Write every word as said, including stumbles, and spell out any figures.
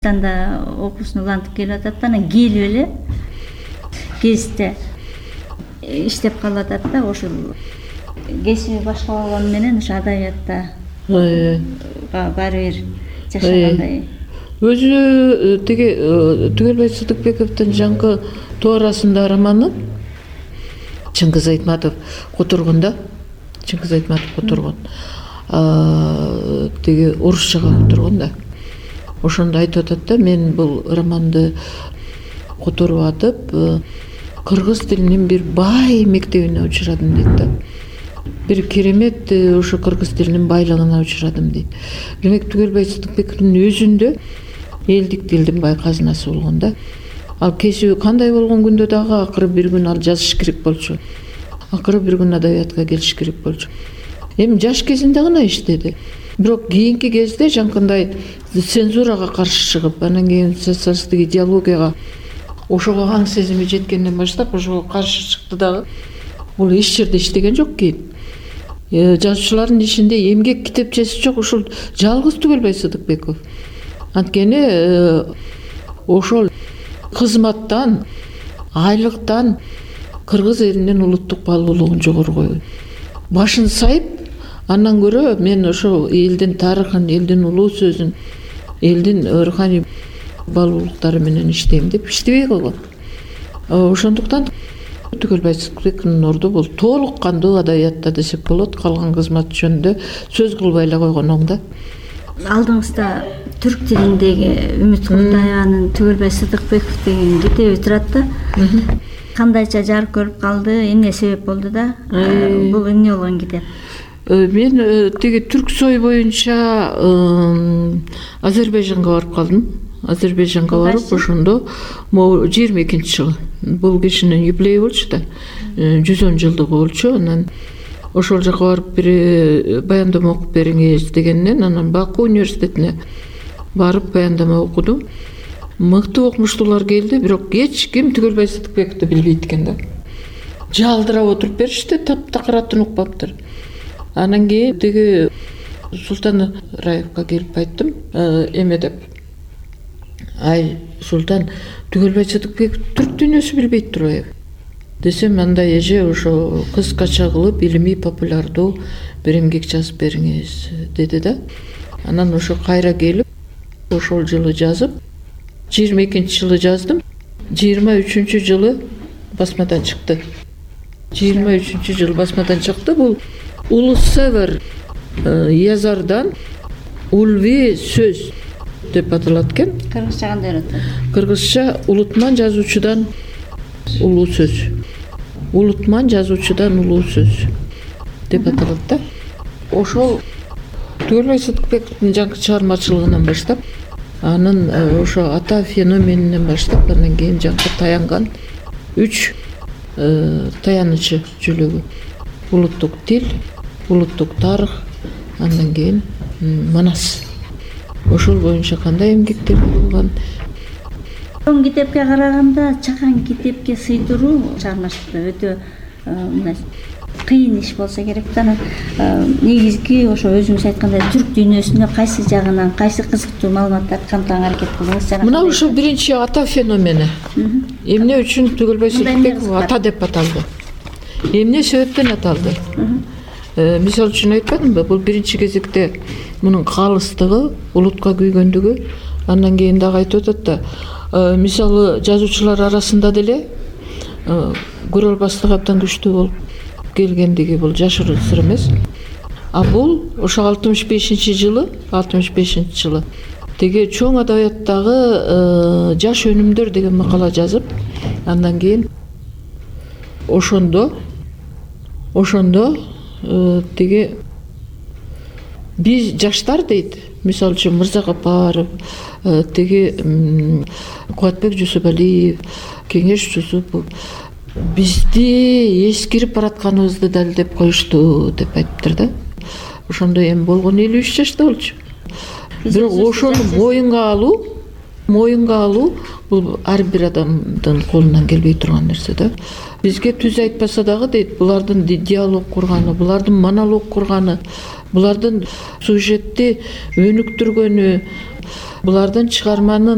Анда окуусун улантып келип атат да, анан келип эле кесипте иштеп калып атат да. Ошол кесиби башка болгону менен ошо адабиятта баары бир жашагандай. Өзү тиги Түгөлбай Сыдыкбековдун жаңкы тууарасында романы Чыңгыз Айтматов которгон да. Чыңгыз Айтматов которгон. Тиги орусчага которгон да. Ошондо айтып атат да, мен бул романды которуп атып, кыргыз тилинин бир бай мектебине учурадым дейт да. Бир керемет ошо кыргыз тилинин байлыгына учурадым дейт. Демек Түгөлбай Сыдыкбековдун өзүндө элдик тилдин бай казынасы болгон да. Ал кесиби кандай болгон күндө дагы акыры бир күн ал жазыш керек болчу. Акыры бир күн адабиятка келиш керек болчу. Эми жаш кезинде гана иштеди. Бирок кийинки кезде жаңкындай цензурага каршы чыгып, анан кийин социалисттик идеологияга ошого аң сезими жеткенден баштап ошого каршы чыкты дагы. Бул эч жерде иштеген жок кийин. Жазуучулардын ичинде эмгек китепчеси жок, ушул жалгыз Түгөлбай Сыдыкбеков. Анткени ошол кызматтан, айлыктан кыргыз элинин улуттук баалуулугун жогору койгон. Башын сайып, андан көрө мен ошо элдин тарыхын, элдин улуу сөзүн, элдин руханий баалуулуктары менен иштейм деп иштебей койгон. Ошондуктан Түгөлбай Сыдыкбековдун орду бул толук кандуу адабиятта десек болот. Калган кызмат жөнүндө сөз кылбай эле койгон оң да. Алдыңызда түрк тилиндеги Үмүт Куртаеванын Түгөлбай Сыдыкбеков деген китеби турат да. Кандайча жарык көрүп калды, эмне себеп болду да? Бул эмне болгон китеп? Мен тиги Түрксой боюнча Азербайжанга барып калдым. Азербайжанга барып, ошондо могу жыйырма экинчи жылы бул кишинин юбилеи болчу да. жүз он жылдыгы болчу. Анан ошол жака барып бир баяндама окуп бериңиз дегенден, анан Баку университетине барып баяндама окудум. Мыкты окумуштуулар келди, бирок эч ким Түгөлбай Сыдыкбековду билбейт экен да. Жалдырап отуруп беришти, таптакыр атын укпаптыр. Анан кийин тиги Султан Раевга келип айттым, эме деп. Ай, Султан, Түгөлбай Сыдыкбеков түрк дүйнөсү билбейт турбайбы? Десем, анда эже ошо кыскача кылып илимий популярдуу бир эмгек жазып бериңиз деди да. Анан ошо кайра келип, ошол жылы жазып, жыйырма экинчи жылы жаздым. жыйырма үчүнчү жылы басмадан чыкты. жыйырма үчүнчү жылы басмадан чыкты. Бул Улуссевер язардан Улви сөз деп аталат экен. Кыргызча кандай атат? Кыргызча улутман жазуучудан улуу сөз. Улутман жазуучудан улуу сөз деп аталат да. Ошол Түгөлбай Сыдыкбековдун жаңкы чыгармачылыгынан баштап, анын ошо ата феноменинен баштап, андан кийин жаңкы таянган үч таянычы жөлөгү: улуттук тил, улуттук тарых, андан кийин Манас. Ошол боюнча кандай эмгектер болгон. Чоң китепке караганда чакан китепке сыйдыруу чыгармачылыкта өтө мындай кыйын иш болсо керек да. Негизги ошо өзүңүз айткандай түрк дүйнөсүнө кайсы жагынан, кайсы кызыктуу маалыматтарды камтыганга аракет кылдыңыз? Мына ошо биринчи ата феномени. Эмне үчүн Түгөлбай Сыдыкбеков ата деп аталды? Эмне себептен аталды? Мисалы үчүн айтпадымбы, бул биринчи кезекте мунун калыстыгы, улутка күйгөндүгү. Андан кийин дагы айтып атат да, мисалы жазуучулар арасында деле көрө абдан күчтүү болуп келгендиги бул жашыруун сыр эмес. А бул ошо алтымыш бешинчи жылы, алтымыш бешинчи жылы теге чоң адабияттагы жаш өнүмдөр деген макала жазып, андан кийин ошондо ошондо теге биз жаштар дейт. Мисалы үчүн Мырзагапаров, теги Кубатбек Жусупалиев, Кеңеш Жусупов бизди эскирип баратканыбызды далилдеп коюшту деп айтыптыр да. Ошондо эми болгон элүү үч жашта болчу. Бирок ошону моюнга алуу, моюнга алуу бул ар бир адамдын колунан келбей турган нерсе да. Бизге түз айтпаса дагы дейт, булардын диалог курганы, булардын монолог курганы, булардын сюжетти өнүктүргөнү, булардын чыгарманын